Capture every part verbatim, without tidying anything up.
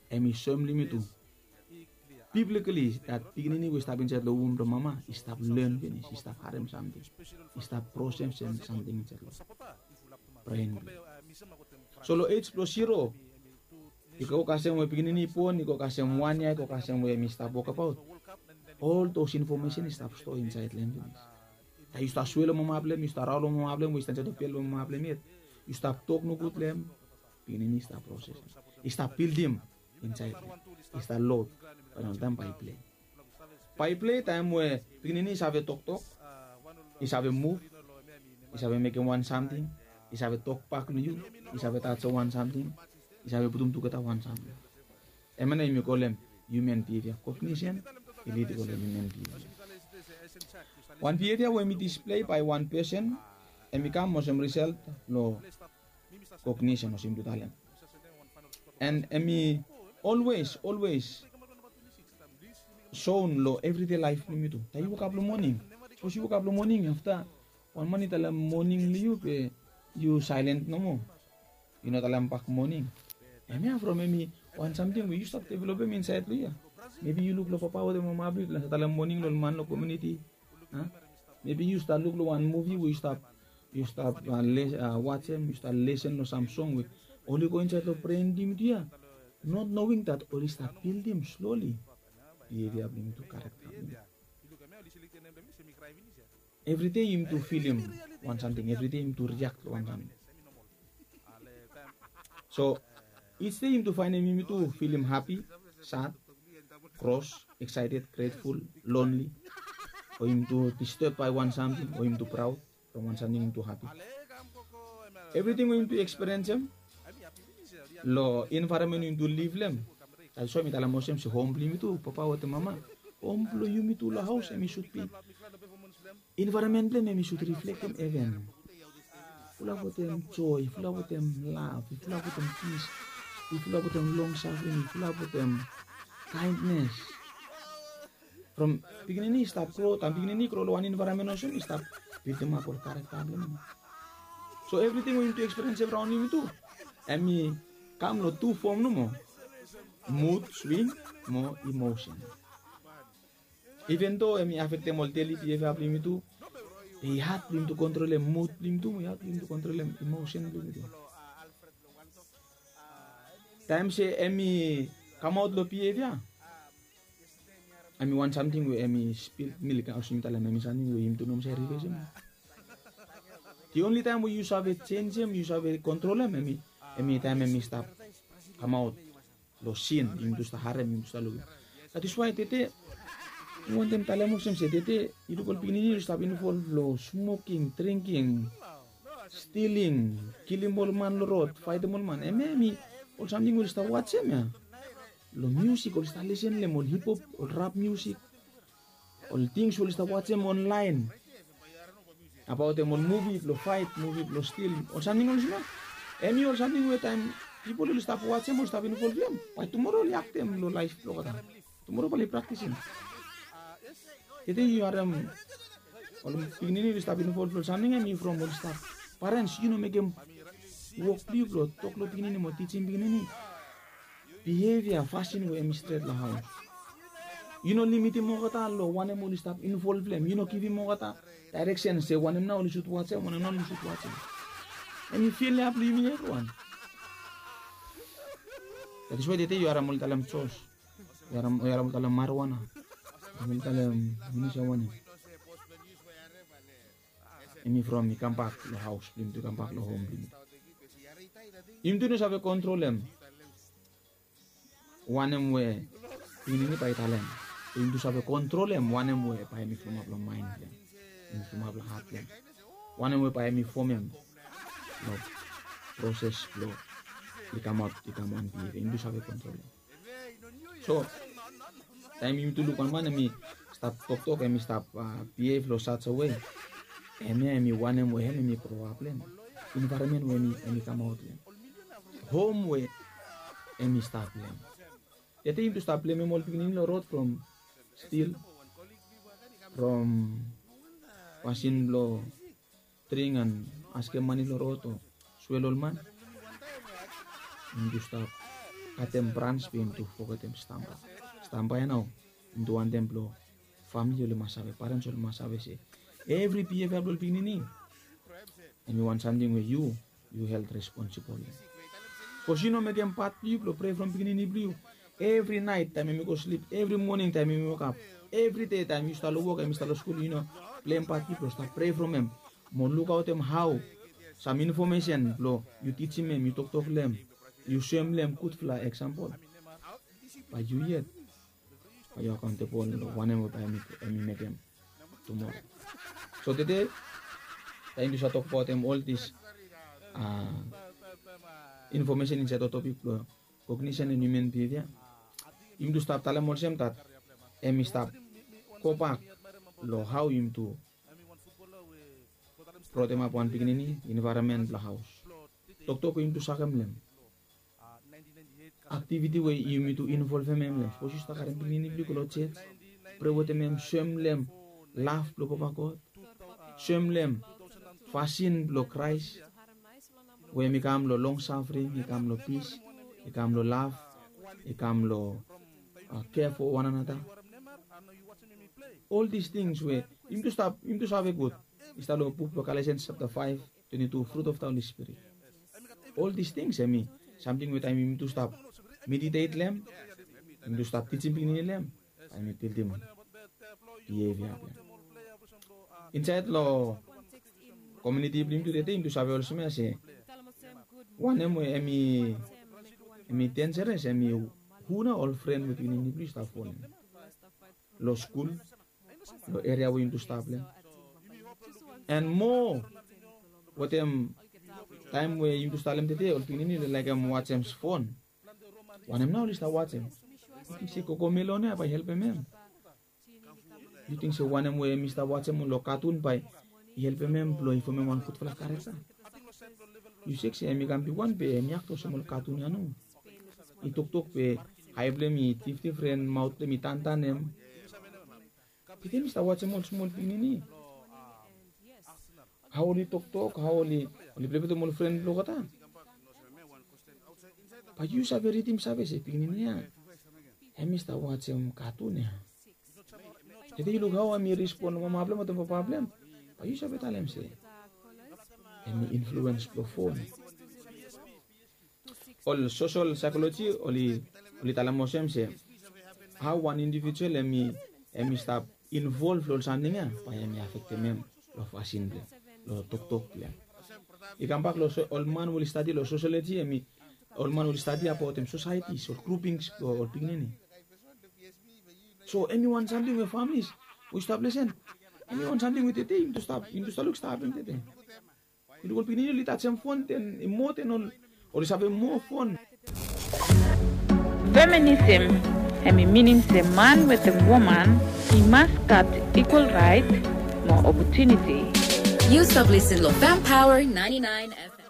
Em i soem long yumi tu, biblikali dat pikinini we i stap insaed long wom blong mama i stap len finis, i stap harem samting, i stap prosesem samting insaed long bren blong yumi. So long ej blong zero i go kasem we pikinini i bon, i go kasem wan yia, i go kasem we em i stap wokbaot. Ol dos infomesen i stap stoa insaed long em finis. Taem yu stap swea long mama blong em, yu stap raon long mama blong em, we i stap insaed long bel blong mama blong em yet, yu stap tok nogud long em, pikinini i stap prosesem, i stap bildim insaed long em, i stap lod. Bae nao oltaem bae i plei. Bae i plei taem we pikinini i save toktok, i save muv, i save mekem wan samting, i save tokbak long yu, i save tajem wan samting, i save putum tugeta wan samting. Hemia nao yumi kolem human behavior. Cognition i lid i go long human behavior. Wan behavior we hem i displei bae wan pesen, hem i kam olsem result long cognition, olsem yumi tu talem. And hem i always, always shown long everyday laef blong yumi tu. Taem yu wokap long moning, sapos yu wokap long moning, afta wan man i talem moning long yu be yu saelen nomo, yu no talem bak moning. Hemia from hem i wan samting we yu stap developem insaed long yu ya. Maybe yu luk long papa wetem mama blong yu, yu talem moning long ol man long komuniti. Maybe yu stap luk long wan muvi we yu stap, yu stap wajem, yu stap lesen long sam song we oli go insaed long bren blong yumi tu ya, not knowing dat oli stap bildim slowly behavior blong yumi tu, karakta blong yumi tu. Evridei yumi tu filim wan samting, evridei yumi tu riak long wan samting. So ij dei yumi tu faenem yumi tu filim hapi, sad, kros, excited, grateful, lonely, o yumi tu disturb bae wan samting, o yumi tu praod from wan samting, yumi tu hapi. Evriting we yumi tu ekspiriensem long envaeronmen we yumi tu liv long hem. That's why mi talem olsem se hom blong yumi tu, papa wetem mama, hom blong yumi tu long haos hem i sud bi, envaeronmen blong hem hem i sud riflektem heven. Fulap wetem joe, fulap wetem lav, fulap wetem pis, fulap wetem longsafring, fulap wetem kaendnes. From pikinini i stap gro, taem pikinini i gro long wan envaeronmen olsem i stap bildimap ol karakta blong hem. So evriting we yumi tu ekspiriensem raon yumi tu, hem i kam long tu fom nomo, mud swing mo emosen. Even though hem i afektem ol deli behavior blong yumi tu, be i had blong yumi tu kontrolem mud blong yumi tu, mo i had blong yumi tu kontrolem emosen blong yumi tu. Taem se hem i kamaot long behavior, hem i wan samting we hem i spil milk, olsem yumi talem, hem i samting we yumi tu no mas save rivesem. The only taem we yu save jenjem, yu save kontrolem, hem i, hem i taem hem i stap kamaot long sin, yumi tu stap harem, yumi tu stap lukim. That is why tede mi wantem talem olsem se tede yu luk ol pikinini oli stap involv long smoking, drinking, stiling, kilim ol man long rod, faetem ol man. Hemia hem i ol samting we oli stap wajem ya. Long miusik oli stap lisen long hem, ol hip hop, ol rap miusik, ol tings we oli stap wajem onlaen abaot hem, ol muvi blong faet, muvi blong stil, ol samting olsem ya. Hem i ol samting we taem pipol oli stap wajem, oli stap involv long hem, bae tumoro oli aktem long laef blong olgeta. Tumoro bae oli praktisim. Tede yu harem ol pikinini oli stap involv long samting ya, hem i from oli stap, parens, yu no mekem wok blong yu blong tok long pikinini mo tijim pikinini behavior, fasin we hem i stret long haos. Yu no limitim olgeta long wanem oli stap involv long hem. Yu no givim olgeta daereksen se wanem nao oli sud wajem, wanem nao oli sud wajem. Hem i fil ya blong yumi evriwan. That is why tede yu harem oli talem jos, yu harem, yu harem oli talem marijuana, yu harem oli talem, yu no save wanem. Hem i from i kambak long haos blong yumi tu, i kambak long hom blong yumi tu. Yumi tu no save kontrolem wanem we pikinini bae i talem. Yumi tu save kontrolem wanem we bae hem i flomap long maen blong hem, hem i flomap long hat blong hem, wanem we bae hem i fomem long proses blong i kamaot i kam wan behavior, yumi tu save kontrolem. So taem yumi tu luk wan man hem i stap toktok, hem i stap, ah, behave long such a way, hemia hem i wanem we hem, hem i grow up long hem. Environment we hem i, hem i kamaot long hem. Hom we hem i stap long hem. Tede yumi tu stap blemem ol pikinini long rod from stil, from fasin blong dring and askem mane long rod o swel ol man. Yumi tu stap katem brans be yumi tu fogetem stamba. Stamba ya nao yumi tu wantem blong famili oli mas save, parens oli mas save se evri behavior blong ol pikinini hemi wan samting we yu, yu held responsible long. Sapos yu no mekem pat blong yu blong prea from pikinini blong yu evri nait taem yumi go slip, evri moning taem yumi wokap, evri dei taem yu stap long wok, hemi stap long skul, yu no pleim pat blong yu blong stap prea from hem mo lukaotem hao sam infomesen blong yu tijim hem, yu toktok long hem, yu soem long hem gudfala eksampol, bae yu yet bae yu akaontebol long wanem we bae hemi mekem tumora. So tede taem yumi tu save tokbaotem ol dis infomesen insaed long topik blong kognition and human behavior, yumi tu stap talem olsem dat hemi stap gobak long hao yumi tu brotemap wan pikinini, envaeronmen blong haos, toktok we yumi tu sakem long hem, aktiviti we yumi tu involvem hem long hem. Sapos yu stap karem pikinini blong yu go long jej, prea wetem hem, soem long hem lav blong Papa God, soem long hem fasin blong Kraes we hemi kam long long safring, i kam long pis, i kam long lav, i kam long kea fo wan anata. Ol dis tings we yumi tu stap, yumi tu save gud, i stap long buk blong Galatians chapter five twenty-two, fruit of the Holy Spirit. Ol dis tings hemi samting we taem yumi tu stap meditate long hem, yumi tu stap tijim pikinini long hem, bae hemi bildim behavior blong hem. Insaed long komuniti blong yumi tu tede yumi tu save olsem ya se wanem we hemi, hemi denjeres hemi hu nao ol fren we pikinini blong yu stap folem long skul, long eria we yumi tu stap long hem. And moa wetem taem we yumi tu stap long hem tede, ol pikinini oli laekem wajem fon. Wanem nao oli stap wajem? Yu ting se CoComelon ya bae i helpem hem? Yu ting se wanem we hemi stap wajem long katun bae i helpem hem blong i fomem wan gudfala karekta? Yu sek se hemi kam bigwan be hemi akto olsem ol katun ya nomo. I toktok be ae blong hem i difdifren, maot blong hem i tantanem. Be taem yu stap wajem ol smol pikinini, hao oli toktok, hao oli, oli plei wetem ol fren blong olgeta, bae yu save ridim save se pikinini ya hemi stap wajem katun ya. Tede yu luk hao hemi respon long mama blong hem wetem papa blong hem, bae yu save talem se hemi influens blong fon. Ol sosel saekoloji oli, oli talem olsem se hao wan indivijual hemi, hemi stap involv long ol samting ya, bae hemi afektem hem long fasin blong hem, long toktok blong hem. I kambak long ol man we oli stadi long sosioloji, hemi ol man we oli stadi abaotem sosaetis, ol grupings blong ol pikinini. So hemi wan samting we familis we yu stap lesen, hemi wan samting we tede yumi tu stap, yumi tu stap luk stap hapem tede. Yu luk ol pikinini oli tajem fon, den i moa den ol, oli save moa fon. Feminism hemi minim se man wetem woman i mas gat ikwal raet mo opotuniti. Yu stap lesen long Fem Power ninety-nine F M.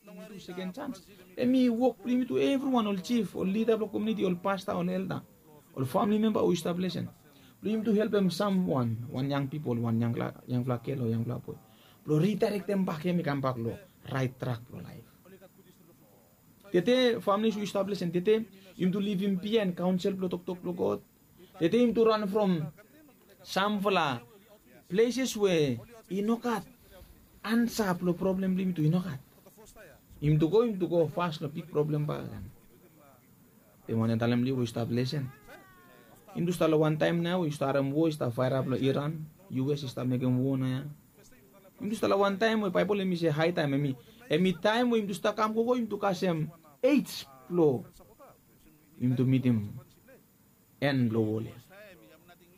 Yumi tu seken jans. Hemi wok blong yumi tu, evriwan, ol jif, ol lida blong komuniti, ol pasta, ol elda, ol famili memba we yu stap lesen, blong yumi tu helpem samwan, wan yang pipol, wan yangfala, yangfala gel o yangfala boe, blong ridaerektem bak hem i kambak long raet trak blong laef. Tede familis we yu stap lesen, tede yumi tu livim biaen kaonsel blong toktok blong God. Tede yumi tu ran from samfala pleses we i no gat ansa blong problem blong yumi tu i no gat. Yumi tu go, yumi tu go fas long big problem bakegen. Be mi wantem talem long yu we yu stap lesen, yumi tu stap long wan taem nao we yu stap harem wo i stap faerap long Iran, U S i stap mekem wo naoia. Yumi tu stap long wan taem we Baebol hemi se hae taem, hemi, hemi taem we yumi tu stap kam gogo, yumi tu kasem ej blong yumi tu mitim en blong wol ya.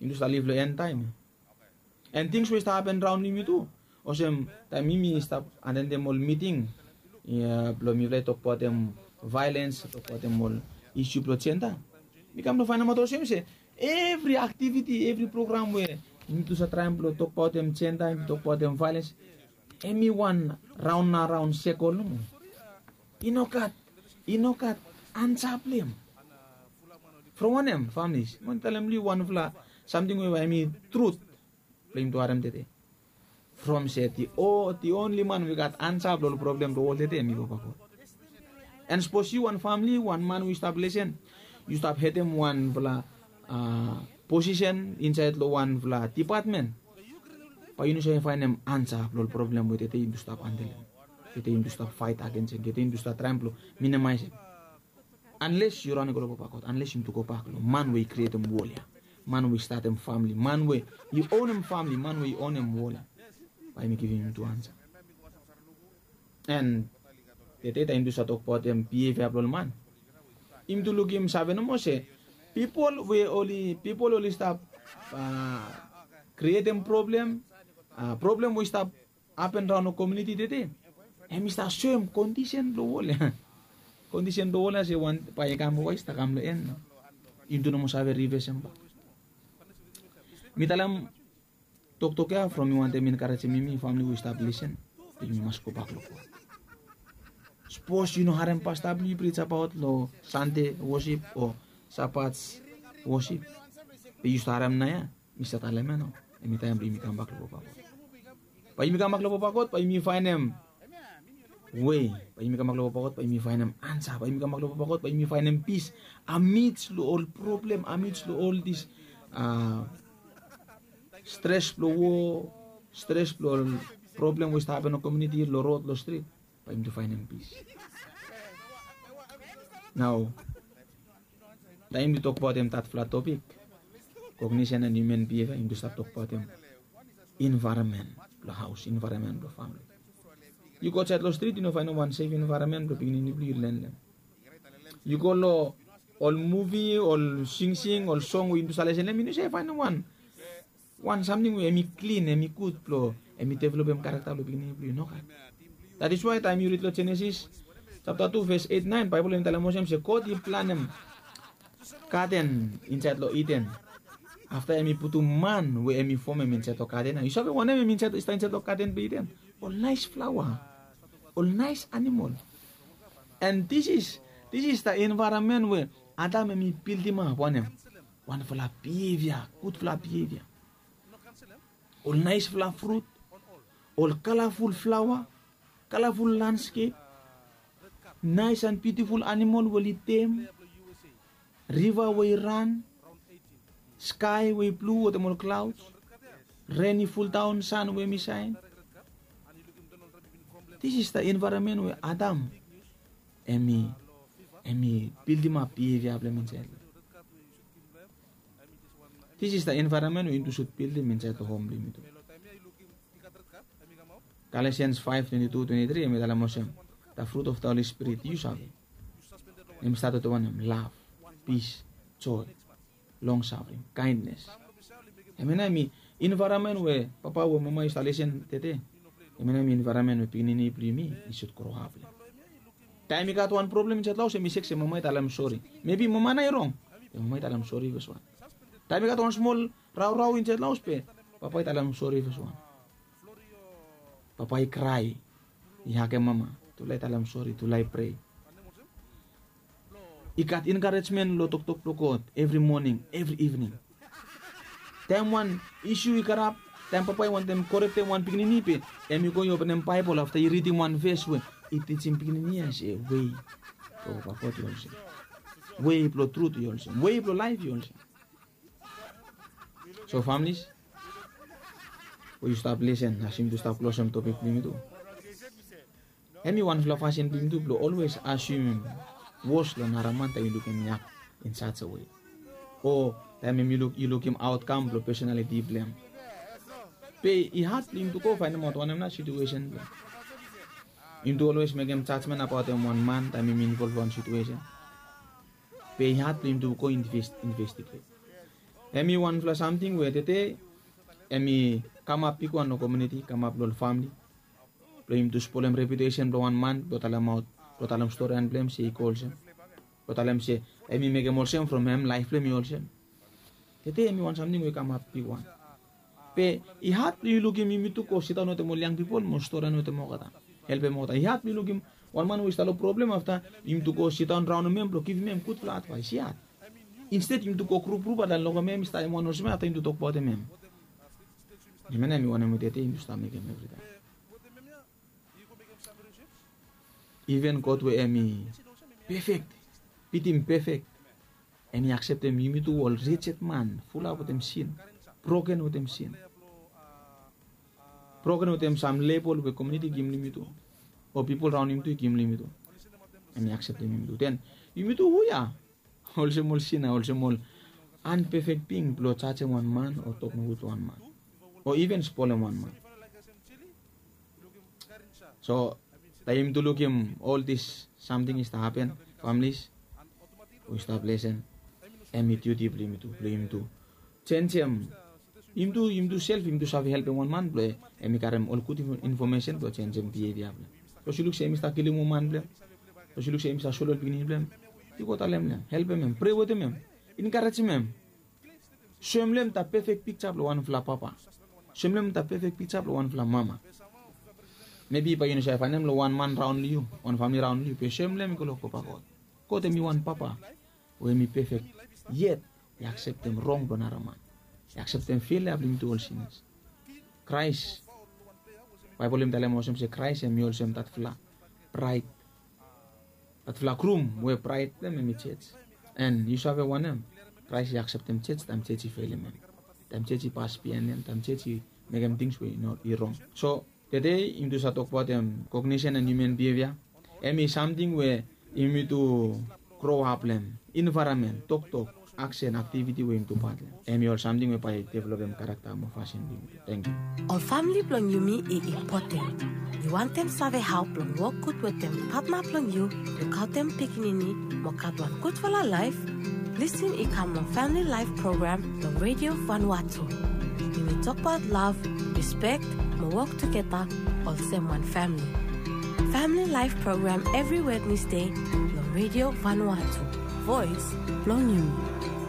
Yumi tu stap liv long en taem ya. And tings we i stap hapen raon yumi tu, olsem taem yumi stap atendem ol miting blong mifala i tokbaotem vaelens, tokbaotem ol isu blong jenda, mi kam long faenemaot olsem se evri aktiviti, evri program we yumi tu save traem blong tokbaotem jenda, yumi tu tokbaotem vaelens, hemi wan raon na raon sekol nomo. I no gat, i no gat ansa blong hem. From wanem, familis? Mi wantem talem long yu wanfala samting we bae hemi trut blong yumi tu harem tede. from se the only man we gat ansa blong ol problem blong wol tete em i papa God. And sapos yu wan famili, wan man we yu stap lesen, yu stap hetem wanfala posisen insaed long wanfala dipatmen, bae yu no save faenem ansa blong ol problem we tete yumi tu stap handel em, tete yumi tu stap faet agensem, tete yumi tu stap traem blong minamaesem. Anles yu ran i go long papa God, anles yumi tu gobak long man we i krietem wol ya, man we i statem famili, man we i onem famili, man we i onem wol ya, bae mi givim yumi tu ansa. And tete taem yumi tu stap tokbaotem bievia blong ol man, yumi tu lukim save nomo se pipol we oli pipol oli stap krietem problem, problem we i stap apen raon long komiuniti tete, em i stap soem kondisen blong wol ya. Kondisen blong wol ya se wan bae i kam bambae i stap kam long en nao. Yumi tu nomo save rivesem bak. Mi talem toktok ya from mi wantem enkarejem yumi famili we i stap lisen, be yumi mas gobak long God. Sapos yu no harem pasta blong yu prij abaot long Sande wosip o Sabat wosip, be yu stap harem naoia, mi stap talem ya nao, em i taem blong yumi kambak long papa God. Bae yumi kambak long papa God, bae yumi faenem wei, bae yumi kambak long papa God, bae yumi faenem ansa, bae yumi kambak long papa God, bae yumi faenem pis amidst long ol problem, amidst long ol dis stres blong wo, stres blong ol problem we i stap hapen long komiuniti, long rod, long strit, bae yumi tu faenem pis. Nao taem yumi tu tokbaotem datfala topik, kognisen and hiuman bievia, yumi tu stap tokbaotem envaeronmen blong haos, envaeronmen blong famili. Yu go aotsaed long strit, yu no faenem wan sef envaeronmen blong pikinini blong yu len long hem. Yu go long ol muvi, ol singsing, ol song we yumi tu stap lesen long hem, yu no save faenem wan wan samting we em i klin, em i gud blong em i developem karakta blong pikinini blong yu, nogat. That is why taem yu rid long Jenesis japta tu ves eit naen, Baebol em i talem olsem se God i planem gaden insaed long Iden. Afta em i putum man we em i fomem insaed long gaden ya. Yu save wanem em i stap insaed long gaden blong Iden? Ol naes flaoa, ol naes animol. And this is, this is the environment we Adam em i bildimap wanem? Wanfala bievia, gudfala bievia. Ol naesfala frut, ol kalaful flaoa, kalaful landskep, naes and biutiful animol we oli tem, riva we i ran, skae we i blu wetem ol klaods, ren i fuldaon, san we em i saen. This is the environment we Adam em i, em i bildimap bievia blong hem insaed long hem. This is the environment we yumi tu sud bildim insaed long hom blong yumi tu. Galatians five twenty-two, twenty-three em i talem olsem, the fruit of the Holy Spirit, yu save, em i stat wetem wanem? Lav, pis, joe, longsafring, kaendnes. Hemia nao em i envaeronmen we papa we mama yu stap lesen tede, hemia nao em i envaeronmen we pikinini blong yumi i sud groap long hem. Taem i gat wan problem insaed long haos, em i sek se mama i talem sori. Mebi mama nao i rong, be mama i talem sori feswan. Taem i gat wan smol raorao insaed long haos, be papa i talem sori feswan. Papa i krae, i hagem mama, tufala i talem sori, tufala i prea. I gat enkarejmen long toktok blong God evri moning, evri ivning. Taem wan isu i karap, taem papa i wantem korektem wan pikinini, be em i go i openem Baebol, afta i ridim wan ves we i tijim pikinini ya se wei blong papa God i olsem, wei blong trut i olsem, wei blong laef i olsem. So families we yu stap lesen, as yumi tu stap klosem topik blong yumi tu, hemi wanfala fasin blong yumi tu blong olwes asumem wos long nara man taem yu lukim hem in such a way, o taem yu lukim outcome blong personality blong hem. Be i had blong yumi tu go faenemaot wanem nao situesen blong hem. Yumi tu olwes mekem jajmen abaotem wan man taem yumi involv long wan situesen. Be i had blong yumi tu go investiget. Hemi wanfala samting we tede hemi kamap bigwan long komuniti, kamap long ol famili, blong yumi tu spolem reputesen blong wan man blong talemaot, blong talem storian blong hem se i go olsem, blong talem se hemi mekem olsem from hem laef blong hem i olsem. Tede hemi wan samting we i kamap bigwan. Be i had blong yu lukim yumi tu go sidaon wetem ol yang pipol mo storian wetem olgeta, helpem olgeta. I had blong yu lukim wan man we i stap long problem, afta yumi tu go sidaon raonem hem blong givim hem gudfala advaes. I had. Insted yumi tu go grup grup, afta lokem hem i stap hem wan olsem ya, afta yumi tu tokbaotem hem. Hemia nao hem i wanem we tete yumi stap mekem evritaem. Iven God we hem i pefek, pitim pefek, hem i akseptem yumi tu ol rijet man, fulap wetem sin, broken wetem sin, broken wetem sam lebol we komuniti i givim long yumi tu, o pipol raon yumi tu i givim long yumi tu. Hem i akseptem yumi tu. Den yumi tu hu ya? Olsem ol sina, olsem ol anpefek bing blong jajem wan man o tok nogud long wan man, o iven spolem wan man. So taem yumi tu lukim ol dis samting i stap hapen, familis, we i stap lesen, hem i diuti blong yumi tu, blong yumi tu jenjem. Yumi tu, yumi tu sef yumi tu save helpem wan man blong hem i karem ol gud info-, infomesen blong jenjem bievia blong hem. Sapos yu luk se hem i stap kilim woman blong hem, sapos yu luk se hem i stap solem ol pikinini blong hem, yu go talem long hem, helpem hem, prea wetem hem, enkarejem hem. Soem long hem dat pefek pikja blong wanfala papa. Soem long hem dat pefek pikja blong wanfala mama. Mebi bae yu no save faenem long wan man raon long yu, wan famili raon long yu, be soem long hem i go long God. God hem i wan papa we hem i pefek, yet i akseptem rong blong nara man. I akseptem fela blong yumi tu ol sinas. Kraes, Baebol hem i talem olsem se Kraes hem i olsem datfala braet, datfala grum we braet blong hem hem i jej. An yu save wanem? Kraes i akseptem jej taem jej i felim hem, taem jej i pas biaen hem, taem jej i mekem tings we i no, i rong. So tede yumi tu save tokbaot hem, kognisen an hiuman bievia. Hem i samting we yumi tu groap long hem, envaeronmen, toktok, aksen, aktiviti we yumi tu pat long hem. Hem i ol samting we bae i developem karakta mo fasin blong yumi tu. Tangkiu. Ol famili blong yumi i impoten. Yu wantem save hao blong wok gud wetem patna blong yu, lukaotem pikinini, mo gat wan gudfala laef? Lisin i kam long Family Life Program long Radio Vanuatu. Yumi tokbaot lav, rispek, mo wok tugeta olsem wan famili. Family Life Program evri Wednesde long Radio Vanuatu, voes blong yumi.